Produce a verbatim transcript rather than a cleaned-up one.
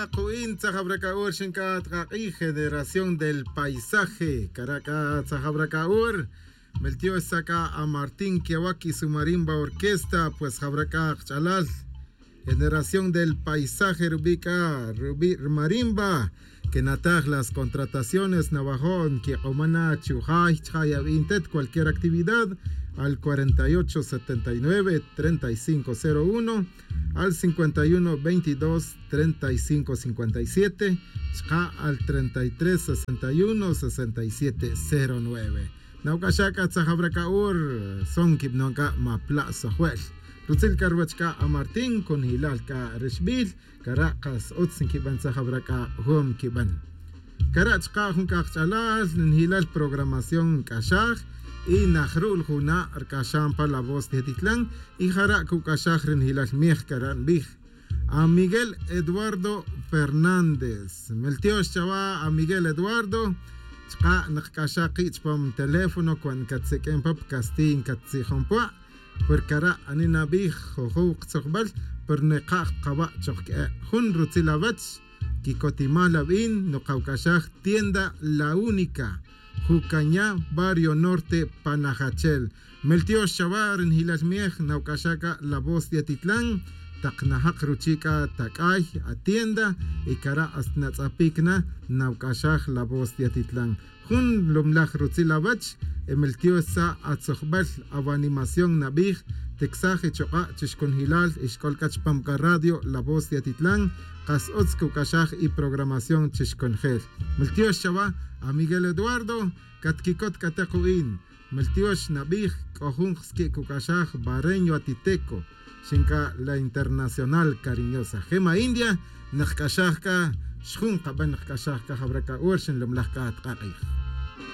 Ku'in tzajab rak'a'ur xink'a tk'ak'ij generación del paisaje kara' k'a tzajab rak'a'ur. Meltiox sa' k'a a martín kiawak y su marimba orquesta pues jab rak'a kach'alal generación del paisaje rubi' k'a rubi' rmarimba. Kenataj las contrataciones nawajo' nkik'oma na chujay chajay awi'in tet cualquier actividad al cuarenta y ocho setenta y nueve treinta y cinco cero uno, al cincuenta y uno veintidós treinta y cinco cincuenta y siete, chka' al treinta y tres sesenta y uno sesenta y siete cero nueve. Nawk'axa' k'a tzajab rak'a'ur son kib'anon k'a ma pla' sojwe'l. Rutzil k'a ruwech k'a a martín kunjilal k'a rixb'il kara' qas utz nkib'an tzajab rak'a' jun kib'an. Kara' chka' jun k'a qach'alal rinjilal programación nk'axaj y najru'l juna' rk'axan pa la voz de atitlan. Y jara' kuk'axaj rinjilal miej kara' nbij a miguel eduardo fernández. Meltiox chawa a miguel eduardo. Chka' nkq'axaj ki' chpam teléfono cuan nkatsik'in pa pcastiy nkatzijon pwa'. Porque kara' ani nabij jojow ktzojbal pero neka' kqawa' chok k'e' jun rutzil awech. Kikotimal awin nukawk'axaj tienda la única jukaña barrio norte panajachel. Meltiox chawa' rinjilal miej nawk'axaj k'a la voz de atitlan tak najak ruchi' k'a tak'ay atienda y kara' hasta natz'apic na nawk'axaj la voz de atitlan. Jun lumlaj rutzil awech. Emiltiox sa' atzojbel awanimación nabij tiksaj ichuk'a' chixkunjilal ixk'ol k'a chupam k'a radio la voz de atitlan. Kas utz kuc'axaj iprogramación chixkunjel. Miltiox chawa' amiguel eduardo. Catquicot c'a te ku'in miltiox nabij c'o jun ksqui' cuc'axaj bareño atiteco. Xinc'a la internacional cariñosa jema india. Nkc'axaj c'a xjun kaben nkc'axaj c'a jawra c'a ur xinlumlaj c'a atk'ak'ij.